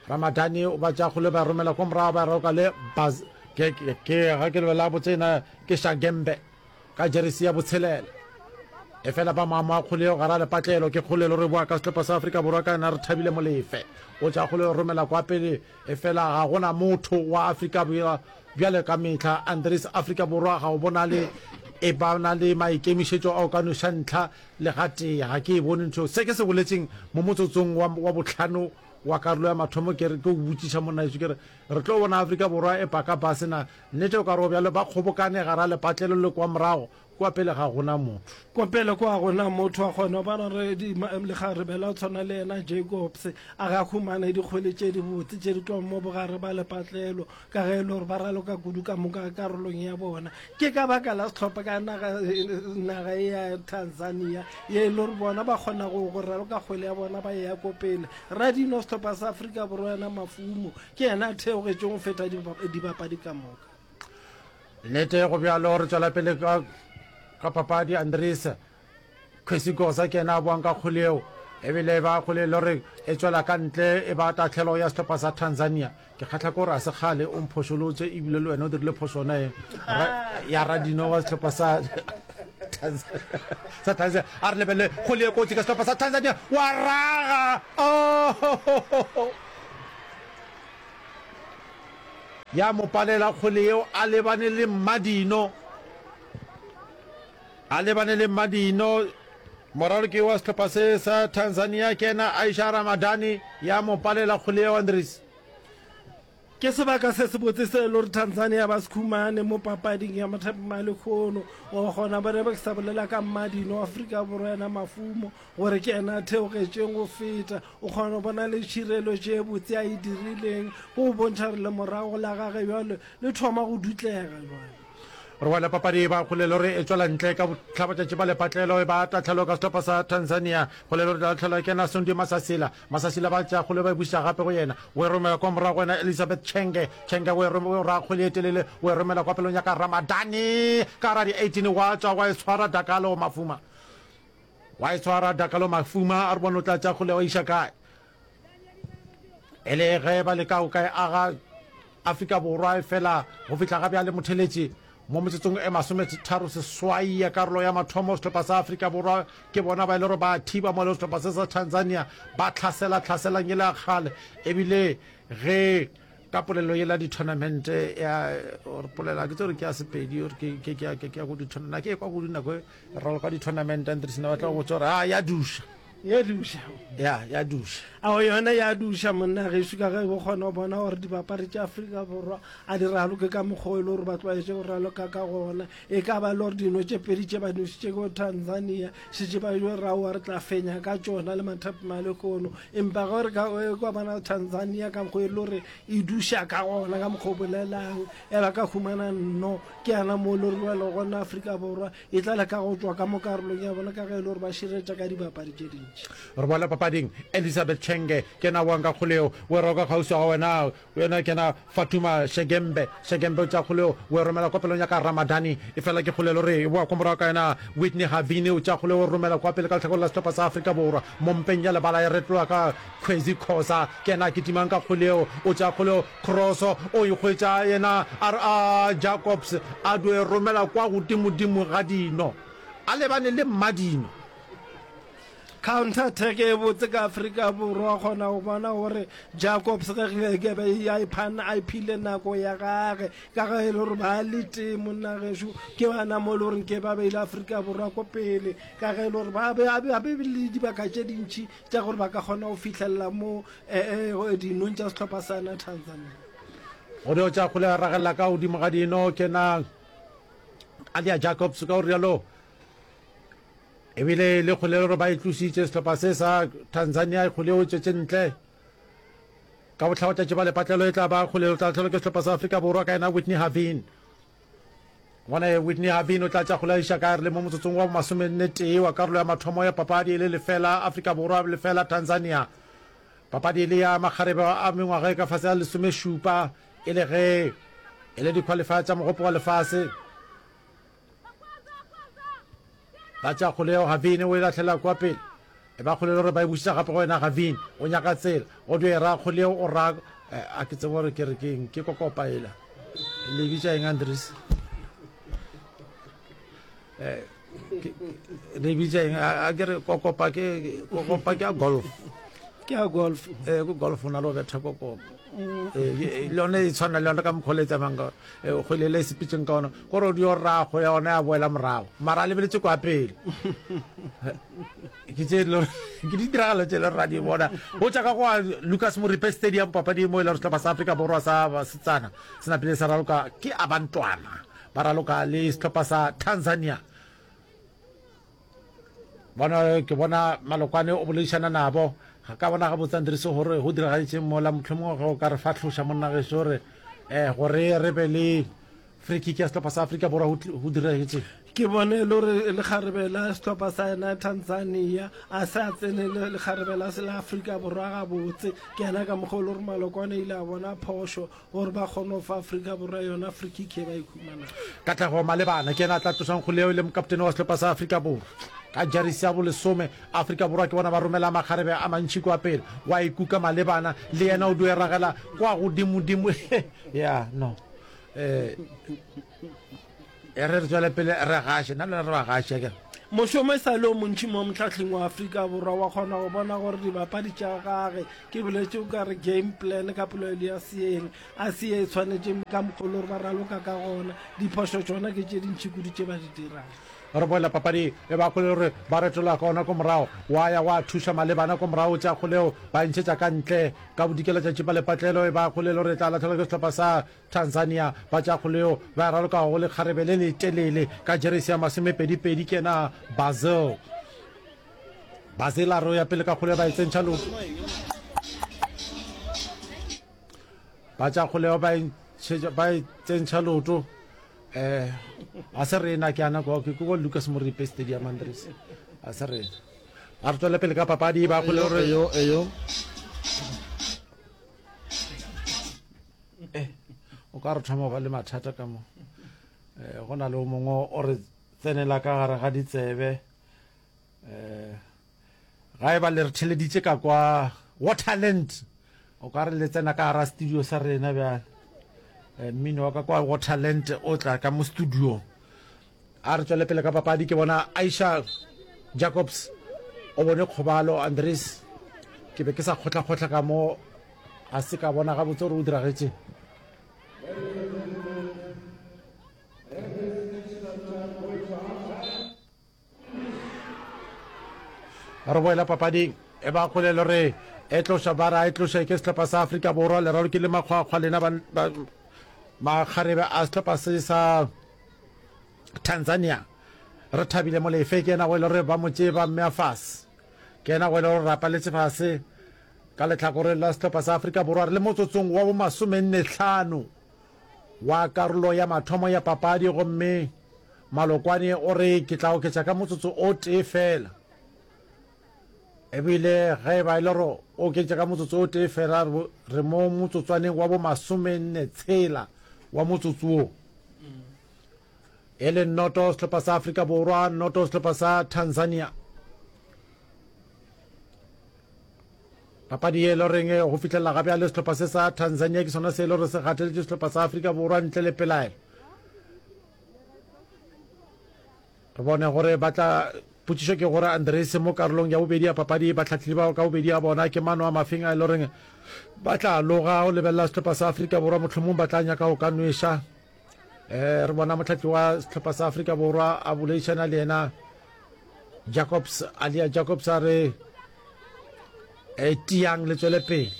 Ramadani o ba tša kgole ba romela kwa morago ba roka le Baz ke ke ke ga ke lebela botse ena ke Shagembe ka jeresi ya botshelela. Efela ba moamoa kgole eo gara lepatlelo ke kgole le re boa ka sehlopha sa Afrika Borwa ka ena re thabile Molefe. O tša kgole romela kwa pele efela ga gona motho wa Afrika Borwa bjale ka mehla Andries Afrika Borwa ga o bonale e ba na le maikemišetšo a o ka noša ntlha le gatee. Ga ke e bone ntho se ke se boletseng mo motsotsong wa, wa bohlano wa karolo ya mathomo. Ke re ke o botšiša monna heso ke re re tlo bona Afrika Borwa e paka base na? Nnete o ka re o bjalo ba kgobokane gara lepatlelo le kwa morago Kua pele ga gona motho. Kua pele kwa gona motho a kgona go bona gore lekgarebe la go tshwana le yena Jacobs a ga humane dikgwele tše dibotse tše di tlogo mo bogare ba lepatlelo ka ge e le gore ba raloka kudu ka moka karolong ya bona. Ke ka baka la sehlopha ka naga, naga e ya Tanzania ye e le gore bona ba kgona go, go raloka kgwele ya bona ba e ya ko pele. Radino sehlopha sa Afrika Borwa yena Mafumo ke yena a theogetšeng go feta dibapadi ka moka. Nnete go bjalo, re tšwela pele ka, ka papadi. Andries Kwesi Kosa ke yena a boang ka kgwele yeo, ebile e ba kgwele e le gore e tšwela ka ntle, e ba tahlelo ya sehlopha sa Tanzania. Ke kgahla ke gore a se kgale o mphošolotše ebile le wena o dirile phošo yona ye ya radino wa sehlopha sa sa Tanzania. A re lebelele kgwele ye kotsi ka sehlopha sa Tanzania, wa raga! Oh! Ya mo palela kgwele yeo a lebane le Mmadino. A lebane le Mmadino, moraloki wa sehlopha se sa Tanzania ke yena Aisha Ramadhani, ya mo palela kgwele yeo Andries. Ke sebaka se sebotse se e le gore Tanzania ba se khumane mo papading ya mathapama a lekhono. O kgona bona be ke sa bolela ka Mmadino wa Afrika Borwa yena Mafumo gore ke yena a theogetšeng go feta. O kgona go bona le tšhireletšo e botse a e dirileng go bontšha gore lemorago la gage bjale le thoma go dutlega bjale. Re wela papadi e ba kgolelo re e tšwela ntle ka bohlabatšatši ba lepatlelo e ba tahlelo ka sehlopha sa Tanzania. Kgolelo re tahlelwa ke yena Sundi Masasila. Masasila ba tšea kgole ba e buša gape go yena. O e romela kwa morago go yena Elizabeth Chenge. Chenge o e o ra kgwele e telele o e romela kwa pelong ya ka Ramadani ka gare ga di eighteen wa tšwa wa e tshwara Dakalo Mafuma. Wa e tshwara Dakalo Mafuma a re bone o tla tšea kgole wa iša kae. E le ge ba leka go ka e aga Afrika Borwa efela go fihla ga bjale motheletši mo metsotsong e masometharo seswai ya karolo ya mathomo sehlopha sa Afrika Borwa ke bona ba e le gore ba thiba mo le sehlopha se sa Tanzania ba tlhasela tlhaselang e le ya kgale ebile ge ka polelo yela di-tournament ya or polela ke tse gore ke ya Sepedi or ke ke ke ke ya go di-tournament ke kwa kudu nako e raloka di-tournament Andries ne ba tla go botsa gore a ya duša Ya duša. Ya, ya duša. Ao yona ya duša monna gešo ka ge o kgona go bona gore dibapadi tša Afrika Borwa a di raloke ka mokgwa o e le gore ba tlwaetše go raloka ka gona. E ka ba e le gore dino tše pedi tše ba nošitše ko Tanzania šetše ba jo re aowa re tla fenya ka tšona le mathapama a lehono. Empa ge re ka kwa bona Tanzania ka mokgwa e le gore e duša ka gona ka mokgwa o bolelang e ba ka humana nno ke yana mo e le gore bjale gona Afrika Borwa E tla leka go tšwa ka mo karolong ya bona ka ge e le gore ba šireletša ka dibapadi tše dintši. Re boela papading. Elizabeth Chenge ke yena a boang ka kgole yeo. O e roka kgauswi ga wena. Yena ke yena Fatuma Shegembe. Shegembe o tšea kgole yeo, o e romela kwa pelong ya ka Ramadani. Efela ke kgole e le gore e boa kwa morago ka yena Whitney Havini. O tšea kgole yeo, o e romela kwa pele ka lehlakoreng la sehlopha sa Afrika Borwa. Mo mpeng ya lebala e retloga ka Khwezi Khoza. Ke yena a kitimang ka kgole yeo. O tšea kgole yeo, Kroso o e hwetša yena a re a Jacobs a dio e romela kwa godimodimo ga dino a lebane le mmadino. Counter attack e botse ka Afrika Borwa kgona go bona gore Jacobs ge ke be a iphana a iphile nako ya gage ka ge e le gore ba le tee monna gešo ke bana mo e le gore ke ba beile Afrika Borwa ko pele ka ge e le gore ba be ba be le dibaka tše dintši tša gore ba ka kgona go fihlelela mo dinong tša sehlopha sa na Tanzania. Go dio tša kgole a ragelela ka godimo ga dino ke na Alia Jacobs ka go rialo ebile le kgole gore ba e tlositše sehlopha se sa Tanzania kgole o tšwetše ntle ka bohlabatšatši ba lepatlelo e tla ba kgole o tla tlholo ke sehlopha sa Afrika Borwa ka yena Whitney Havin. Gona Whitney Havin o tla tša kgole a iša ka re le mo motsotsong wa bomasomenne tee wa karolo ya mathomo ya papadi e le lefela Afrika Borwa lefela Tanzania. Papadi e le ya makgarebe a mengwaga e ka fase ga lesomešupa e le ge e le di-qualifier tša Mogopo wa Lefase. Ba tša kgole yeo Havin o e lahlela kua pele. E ba kgole le gore ba e bušetša gape go yena Gavin. O nyaka tsela. O dio e ra kgole yeo o ra a ke tsebe gore ke re ke eng ke kokopa ela. Le bitša eng Andries? Eh le bitša eng a ke re kokopa ke kokopa ke ya golf. Ke ya golf. Eh ko golf o na le go betha kokopa. Eh le yone e tshwana le yone ka mokgwa le tsamayang ka kgwele le sepetseng ka ona gore o dio rago ya ona ya boela morago mara a lebeletse kwa pele ke tše ke ditiragalo tše le ra di bona go tša ka go Lucas Moripe Stadium papadi mo e le gore sehlopha sa Afrika Borwa sa basetsana se napile sa raloka ke abantwana ba raloka le sehlopha sa Tanzania bona ke bona malokwane o boledišana nabo ga ka bona gabotse Andries gore go diragaditšeng mola mohlomongwe ge o ka re fahloša monna gešo gore um gore re be le free kick ya sehlopha sa Afrika Borwa go diragetšeng. Ke bone e le gore lekgarebe la sehlopha sa yena Tanzania a se a tsene le lekgarebe la la Afrika Borwa gabotse. Ke yena ka mokgwa o le gore Malokwane ile a bona phošo gore ba kgone go fa Afrika Borwa yona free kick e ba e humanago. Katlego Malebana ke yena a tla tlošang kgole eo e le mokaptene wa sehlopha sa Afrika Borwa. Ka jeresi ya bolesome, Afrika Borwa ke bona ba romela makgarebe a mantši kua pele. Wa ikuka malebana le yena o dio e ragela kwa godimodimo. Ya, no. Eh, e re re tswele pele re gaše. Nna le wena re ba gaše, akere? Mošomo e sa le o montši mo mohlahleng wa Afrika Borwa wa kgona go bona gore dibapadi tša gage ke boletše o ka re game plan ka polelo ya seeng a se ye e tshwanetše ka mokgwa o le gore ba raloka ka gona. Diphošo tšona ke tše dintši kudu tše ba di dirang. Re boela papading e ba kgole gore ba retola ka ona ko morago, wa ya wa thuša malebana ko morago tša kgoleo ba e ntšhetša ka ntle ka bodikela tša tšipa lepatlelo e ba kgole le gore e tla lahlegelwa ke sehlopha sa Tanzania ba tša kgoleo ba e raloka go lekgarebe le letelele ka jeresi ya masomepedi-pedi ke yena Basil. Basil a re o ya pele ka kgoleo ba e tsentšha leoto. Ba tša kgoleo ba e ba e tsentšha leoto. Eh, a se rena ke ana kwa ke kwa Lucas Moripe Stadium Andres. A se rena. A re tswele pele ka papadi ba kgole gore eyo eyo. Eh, o ka re thoma ba le mathata ka mo. Eh, go na le o mongwe o re tsenela ka gare ga ditsebe. Eh, ga e ba le re theleditše ka kwa Waterland. O ka re le tsena ka gara studio sa rena bjale. Mmino wa ka kwa Waterland o tla ka mo studio. A re tswele pele ka papadi ke bona Aisha Jacobs o bone kgobalo Andries ke be ke sa kgotlakgotla ka mo a se ka bona gabotse gore o diragetše. Re boela papading e ba kgole le re e tloša ba ra e tloša ke sehlopha sa Afrika Borwa leralo ke le makgwakgwa lena ba makgarebe a sehlopha se sa Tanzania re thabile Molefe ke yena go e le gore ba mo tšee ba mmea fase ke yena go e le gore rapaletse fase ka lehlakoreng la sehlopha sa Afrika Borwa re le motsotsong wa bo masomenne hlano wa karolo ya mathomo ya papadi gomme Malokwane o re ke tla oketša ka motsotso o tee fela. Ebile ge e ba e le gore o oketša ka motsotso o tee fela, re mo motsotswaneng wa bo masomenne tshela wa motsotso wo. E le noto sehlopha sa Afrika Borwa, noto sehlopha sa Tanzania. Papadi ye e le goreng go fihlelela ga bjale sehlopha se sa Tanzania ke sona se e le gore se gateletše sehlopha sa Afrika Borwa ntle le pelaelo. Re bone gore ba tla Potšišo ke gore Andries mo karolong ya bobedi ya papadi bahlahlili bao ka bobedi ya bona ke mano a mafeng a e le goreng ba tla loga go lebelela sehlopha sa Afrika Borwa mohlomong ba tla nyaka go ka nweša. Eh, re bona mohlahli wa sehlopha sa Afrika Borwa a boledišana le yena Jacobs, Alia Jacobs a re e tiang le tswele pele.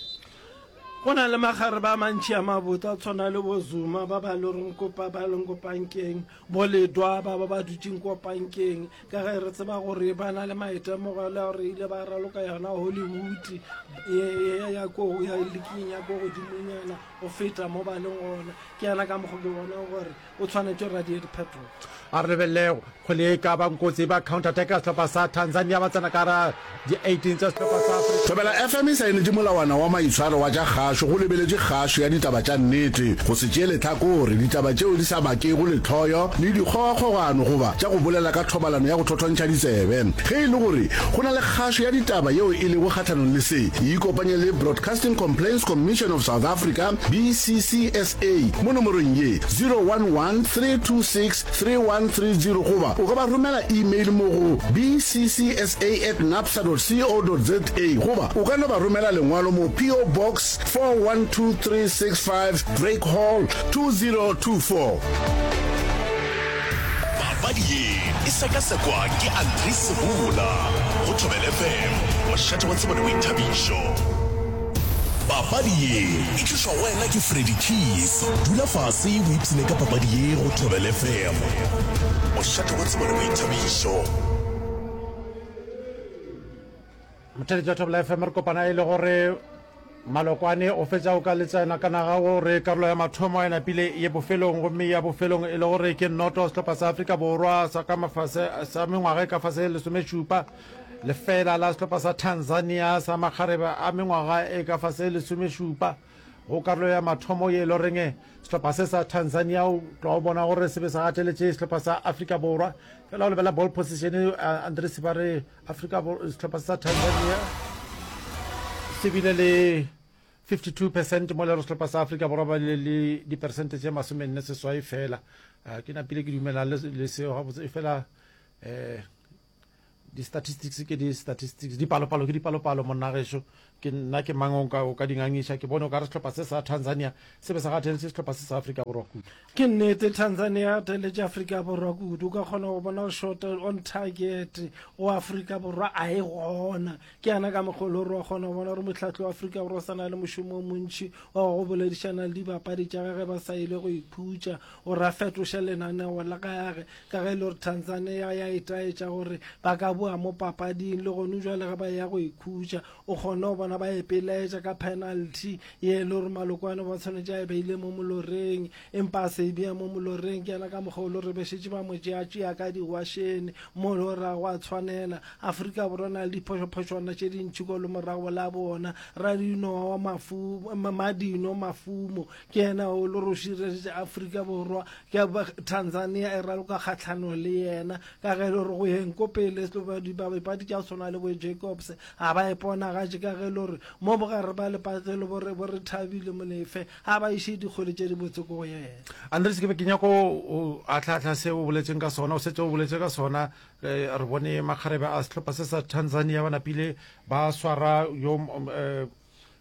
Go na le makgarebe a mantši a mabotse a tshwana le bo Zuma ba ba loreng ko ba leng ko pankeng, bo Ledwa ba ba ba dutšeng ko pankeng, ka ge re tseba gore ba na le maitemogelo a gore ile ba raloka yona Hollywood ye ya ko ya liking ya ko godimonyana go feta mo ba leng gona. Ke yana ka mokgo ke bonang gore o tshwanetše gore a die diphetogo. A re lebelele kgwele e ka bang kotsi ba counter attack ya sehlopha sa Tanzania ba tsena ka gara di eighteen tša sehlopha sa Afrika. Thobela F M e saenetše molawana wa maitshwaro wa tša kgašo go lebeletše kgašo ya ditaba tša nnete, go se tšee lehlakore, ditaba tšeo di sa bakego lehloyo le dikgogakgogano goba tša go bolela ka thobalano ya go thothontšha ditsebe. Ge e le gore go na le kgašo ya ditaba yeo e lego kgahlanong le se, ikopanye le Broadcasting Complaints Commission of South Africa, B C C S A, mo nomorong ye, zero one one three two six three one three zero goba o ka ba romela email mo go bccsa at napsa dot co dot za goba o ka no ba romela lengwalo mo P O Box four one two three six five Drake Hall two zero two four. Papadi ye e sekasekwa ke Andries Sebola go Thobela F M, mošate wa tsebo le boithabišo. Papadi ye e tlišwa go wena ke Freddy Keys. Dula fase o ipshine ka papadi ye go Thobela F M, mošate wa tsebo le boithabišo. Motheletši wa Thobela F M, re kopana e le gore Malokwane o fetša o ka letsena ka naga gore karolo ya mathomo e napile ye bofelong, gomme ya bofelong e le gore ke noto sehlopha sa Afrika Borwa sa ka mafase sa mengwaga e ka fase lesomešupa lefela la sehlopha sa Tanzania sa makgarebe a mengwaga e ka fase lesomešupa. Go karolo ya mathomo ye e le goreng sehlopha se sa Tanzania o tloga o bona gore se be se gateletše sehlopha sa Afrika Borwa. Fela o lebela ball position, Andries ba re Afrika sehlopha se sa Tanzania se bile le fifty two percent mola re sehlopha sa Afrika Borwa ba bile le diperesente tše masomenne seswai fela. Ke napile ke dumela le seo gabotse fela um di-statistics ke di-statistics, dipalopalo ke dipalopalo monna gešo. Ke nna ke mang o ka, o ka di ngangiša? Ke bone o ka re sehlopha se sa Tanzania se be sa gateletše sehlopha se sa Afrika Borwa kudu. Ke nnete, Tanzania e gateletše Afrika Borwa kudu. O ka kgona go bona gore shot on target go Afrika Borwa a e gona. Ke yana ka mokgwa o le gore wa kgona go bona gore mohlahli wa Afrika Borwa o sa na le mošomo o montši wa go boledišana le dibapadi tša gage ba sa ile go ikhutša gore a fetoše lenaneo la gage. Ka ge e le gore Tanzania ya itaetša gore ba ka boa mo papading le gone jwale ge ba eya go ikhutša, o kgone go bona ba ipelaetša ka penalty ye e le gore Malokwane ba tshwanetše a e beile mo moloreng empa a se e bea mo moloreng. Ke yena ka mokgwa o le gore be šetše ba mo tšeatšea ka diwašene mo le gore ga go a tshwanela. Afrika Borwa na le diphošophošwana tše dintši ko lemorago la bona. Radino wa mafu, Madino Mafumo ke yena o le gore o šireletše Afrika Borwa. Ke Tanzania e raloka kgahlanong le yena ka ge e le gore go yeng ko pele dibapadi tša go swana le bo Jacobs ga ba iponagatše ka ge e le gore mo bogare ba lepatlelo bo re bo re Thabile Molefe ga ba iše dikgwele tše dibotse ko go yena. Andries, ke be ke nyako o ahlaahla se o boletseng ka sona, o setse o boletse ka sona. Re bone makgarebe a sehlopha se sa Tanzania ba napile ba swara yo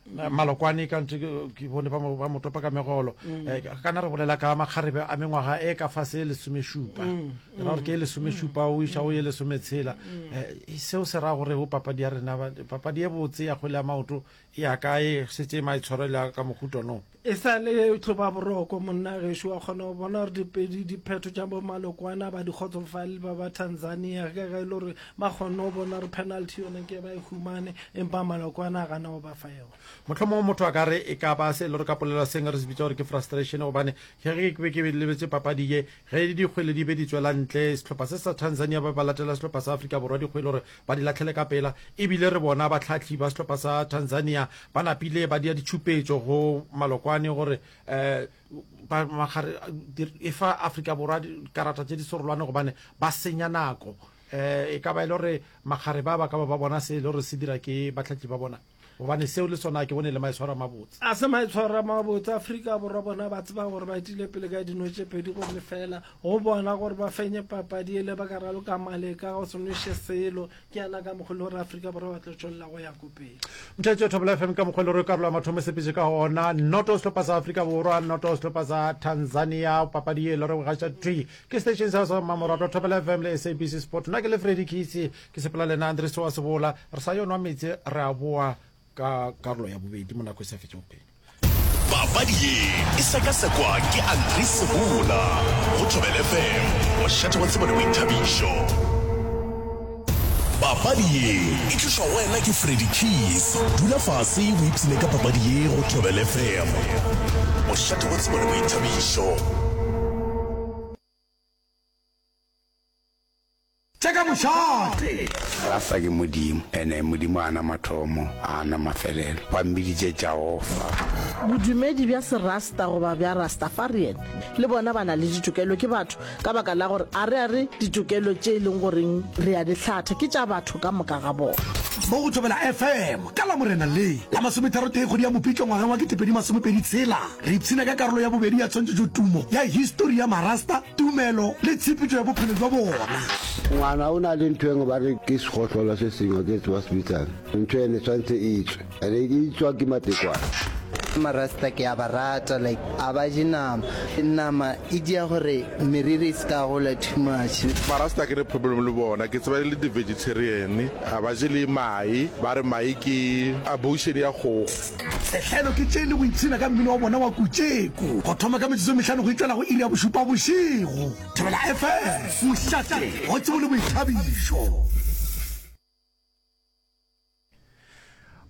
Malokwane ka ntse ke bone ba mo ba mo topa ka megolo. Mm. Eh, kana re bolela ka makgarebe a mengwaga e ka fase e lesomešupa. Mm. Ra gore ke e lesomešupa o iša o ye lesometshela. Mm. Eh, seo se ra gore go papadi ya rena papadi e botse ya kgwele ya maoto e ya kae setse maitshwaro le ka mohuto no. E sa le hloba boroko monna gešo, wa kgona go bona gore dipedi diphetho tša bo Malokwane ba di kgotsofalele ba ba Tanzania ka ge e le gore ba kgonne go bona gore penalty yone ke ba e humane empa Malokwane a gana go ba fa yona. Mohlomongwe motho a ka re e ka ba se e le gore ka polelo seng re se bitša gore ke frustration gobane ge ge ke be ke lebetše papadi ye ge dikgwele di be di tšwela ntle sehlopha se sa Tanzania ba ba latela sehlopha sa Afrika Borwa dikgwele gore ba di lahlele ka pela ebile re bona bahlahli ba sehlopha sa Tanzania ba napile ba dia ditšhupetšo go Malokwane gore um ba magare e fa Afrika Borwa dikarata tše di sorolwane gobane ba senya nako. Um e ka ba e le gore magare ba ba ka ba ba bona se e le gore se dira ke bahlahli ba bona gobane seo le sona ke bone le maitshwaro a mabotse. A se maitshwaro a mabotse. Afrika Borwa bona ba tseba gore ba etile pele ka dino tše pedi go lefela go bona gore ba fenye papadi ele ba ka raloka maleka go se nweše selo. Ke yana ka mokgwa le gore Afrika Borwa ba tlo tšwelela go ya ko pele. Motšheletše wa Thobela F M ka mokgwa le gore karolo ya mathomo e sepetše ka gona. Noto sehlopha sa Afrika Borwa, noto sehlopha sa Tanzania. Papadi ye e le gore gaša thwi ke station sa sa mmamoratwa Thobela F M le S A B C Sport. Nna ke le Freddy Khisi, ke sepela le nna Andries wa Sebola. Re sa yo nwa meetse, re a boa ka karolo ya bobedi mo nako e sa fetšego pelo. Papadi ye e sekasekwa ke Andries Sebola go Thobela F M, mošate wa tsebo le boithabišo. Papadi ye e tlišwa go wena ke Freddy Keys. Dula fase o ipshine ka papadi ye go Thobela F M, mošate wa tsebo le boithabišo. Tša ka mošate. Rasta ke Modimo, ene Modimo a na mathomo, a na mafelelo. Ba mmiditše Jahofa. Bodumedi bja Serasta goba bja Rastafarian le bona ba na le ditokelo, ke batho, ka baka la gore a re a re ditokelo tše e leng goreng re a di hlatha ke tša batho ka moka ga bona. Mo go Thobela F M ka Lamorena le la masometharotee kgwedi ya Mopitlo ngwageng wa ketepedi masomepedi tshela, re ipshina ka karolo ya bobedi ya tshwantšhetšotumo ya histori ya Marasta, tumelo le tshepetšo ya bophelo bja bona. Ngwana o na le ntho engwe ba re ke segohlola se sengwe ke tseba se bitsang. Ntho ene tshwanetse e tswe. Ene e tswa ke matekwane. Marasta ke a ba rata like a ba je nama. Nama e dia gore meriri e se ka gola too much. Marasta ke ne problem le bona, ke tseba e le di vegetarian, a ba je le mae, ba re mae ke abortion ya kgogo. Sehlelo ke tše le go ipshina ka mmino wa bona wa kutšeko go thoma ka metsotso e mehlano go itšwela go iri ya bošupa bošego. Thobela F M, mošate wa tsebo le boithabišo.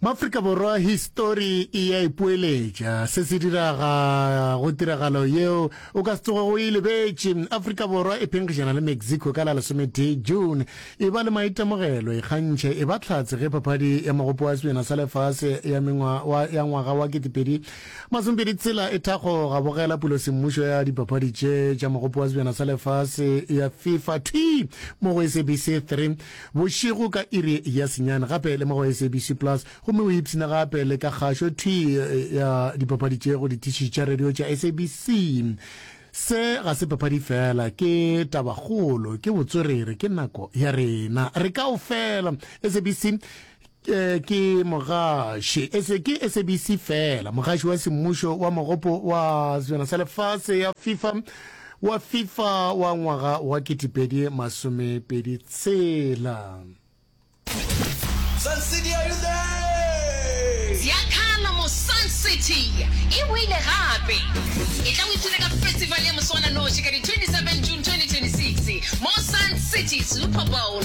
Maafrika Borwa histori e a ipoeletša. Se se diraga go tiragalo yeo o ka se tsogego o e lebetše. Afrika Borwa e phenkgišana le Mexico ka la lesometee June. E ba le maitemogelo, ikgantšhe, e ba hlatse ge papadi ya Mogopo wa Sebjana sa Lefase ya mengwa wa ya ngwaga wa ketepedi masomepedi tshela e thakgoga. Bogela pulosemmušo ya dipapadi tše tša Mogopo wa Sebjana sa Lefase ya FIFA thwii mo go S A B C three bošego ka iri ya senyane gape le mo go S A B C Plus gomme o ipshina gape le ka kgašo thwii ya dipapadi tše go ditiši tša radio tša S A B C. Se ga se papadi fela, ke tabakgolo, ke botswerere, ke nako ya rena. Re kaofela. S A B C ke mogaši, ke S A B C fela, mogaši wa semmušo wa Mogopo wa Sebjana sa Lefase ya FIFA wa FIFA wa ngwaga wa ketepedi masomepedi tshela. Sun City, are you there? Ziakhala mo Sun City e boile gape. E tla o ipshine ka festival ya moswananoši ka di twenty-seven June twenty twenty-six mo Sun City Super Bowl.